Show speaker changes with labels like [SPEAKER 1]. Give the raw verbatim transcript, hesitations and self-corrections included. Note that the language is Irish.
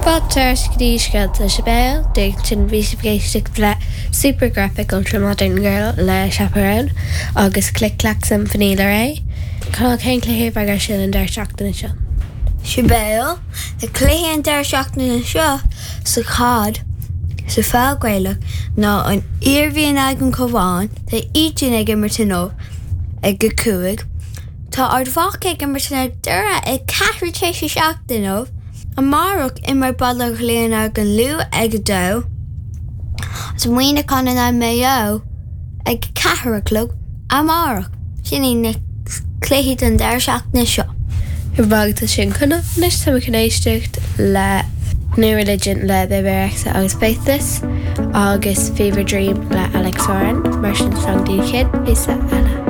[SPEAKER 1] Fáilte go dtí Scéalta Sibéal ansin bhí sibh ag éisteacht le Supergraphic Ultramodern Girl le Chappell Roan agus Click Clack Symphony le Raye. Cá cén cluiche a bheidh sin an deireadh seachtaine seo.
[SPEAKER 2] Sibéal na cluichí an deireadh seachtaine seo sa chaid sa pheil Ghaelach ná an Iarmhí in aghaidh an Cabhán tá iad ag imirt inniu ag a cúig. Tá Ard Mhacha ag imirt in aghaidh Doire ag ceathrú tar éis a seacht inniu. Amárach imreoidh Baile Átha Cliath in aghaidh an Lú ag a dó. Agus Muineachán in aghaidh Maigh Eo ag ceathair a chlog amárach. Sin iad na cluichí don deireadh seachtaine seo.
[SPEAKER 1] Bhagta sin chuna anois tá chun éisteacht le New Religion le Bebe Rexha agus Faithless agus Fever Dream le Alex Warren mar sin slán go dtí an chéad phíosa eile.